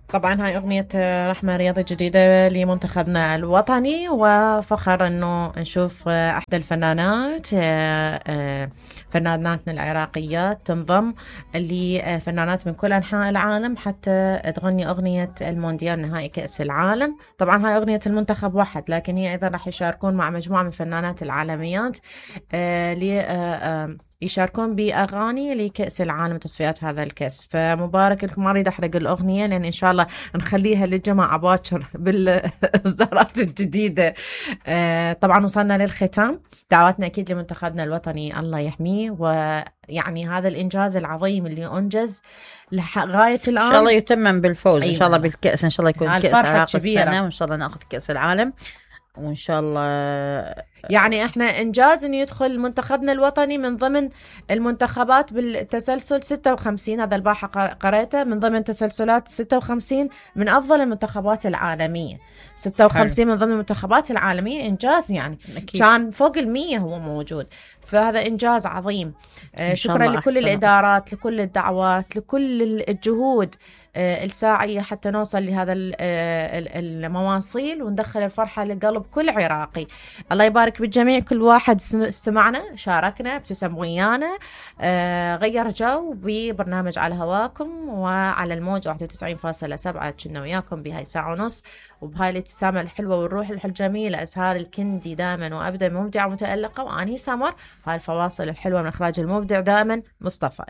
طبعا هاي أغنية رحمة رياضة جديدة لمنتخبنا الوطني، وفخر أنه نشوف أحدى الفنانات فناناتنا العراقيات تنضم لفنانات من كل أنحاء العالم حتى تغني أغنية المونديال نهائي كأس العالم. طبعا هاي أغنية المنتخب واحد، لكن هي أيضا راح يشاركون مع مجموعة من فنانات العالميات يشاركون بأغاني لكأس العالم تصفيات هذا الكأس. فمبارك لكم، ما أريد أحرق الأغنية لأن إن شاء الله نخليها للجماعة باكر بالإصدارات الجديدة. طبعا وصلنا للختام، دعواتنا أكيد لمنتخبنا الوطني الله يحميه، ويعني هذا الإنجاز العظيم اللي أنجز لغاية الآن إن شاء الله يتمم بالفوز. أيوة. إن شاء الله بالكأس، إن شاء الله يكون كأس عراق كبيرة. السنة، وإن شاء الله نأخذ كأس العالم، وإن شاء الله يعني احنا انجاز انه يدخل منتخبنا الوطني من ضمن المنتخبات بالتسلسل 56. هذا البارحة قريته من ضمن تسلسلات 56 من افضل المنتخبات العالمية. 56 من ضمن المنتخبات العالمية، انجاز يعني أكيد. كان فوق 100 هو موجود، فهذا انجاز عظيم. شكرا لكل الادارات، لكل الدعوات، لكل الجهود الساعية حتى نوصل لهذا المواصيل وندخل الفرحة لقلب كل عراقي. الله يبارك بالجميع، كل واحد استمعنا، شاركنا، ابتسم ويانا، غير جو ببرنامج على هواكم وعلى الموج 91.7. كنا وياكم بهاي ساعة ونص وبهاي الابتسامة الحلوة والروح الجميلة. أسهار الكندي دائما وأبدا مبدعة ومتألقة، وأني سمر. هاي الفواصل الحلوة من إخراج المبدع دائما مصطفى.